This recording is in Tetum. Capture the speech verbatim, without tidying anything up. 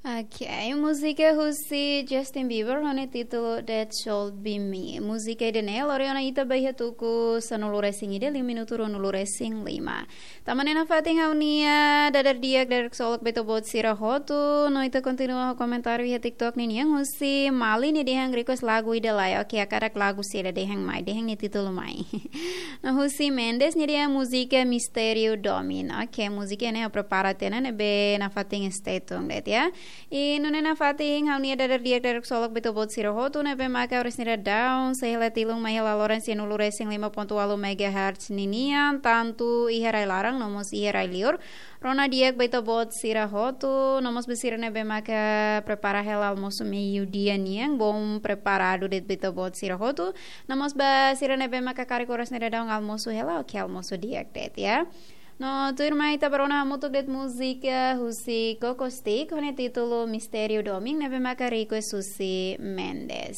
Ok, múzika husi Justin Bieber ho nia títulu That Should Be Me. Múzika ida-ne'e lori ona ita ba iha tuku sanulu-resin-ida liu minutu ruanulu-resin-lima. Tama ona iha fatin ha'u-nia dadeer di'ak, dadeer ksolok ba ita-boot sira hotu, no ita kontinua ho komentáriu iha TikTok ninian husi Mali nia dehan request lagu ida lai. Ok, hakarak lagu saida, dehan mai, dehan nia títulu mai. No husi Mendes nia dehan múzika Mistériu Domin. Ok, múzika ne'e ha'u prepara tiha ona ne'ebé nafatin stay tuned de'it ya. I nune'e nafatin ha'u-nia dadeer di'ak, dadeer ksolok ba ita-boot sira hotu ne'ebé maka oras ne'e daudaun sei hela tilun mai hela loron sanulu-resin-lima pontu ualu megahertz ninian, tantu iha rai-laran no mós iha rai-liur. Rona di'ak ba ita-boot sira hotu, no mós ba sira ne'ebé maka prepara hela almosu meiudia nian, bom preparadu de'it ba ita-boot sira hotu. No mós ba sira ne'ebé maka karik oras ne'e daudaun almosu hela, ok, almosu di'ak de'it ya. No tuirmai ita bá rona hamutuk de'it múzika husi Coco Stick ho nia títulu Mistériu Domin ne'ebé maka request husi Mendes.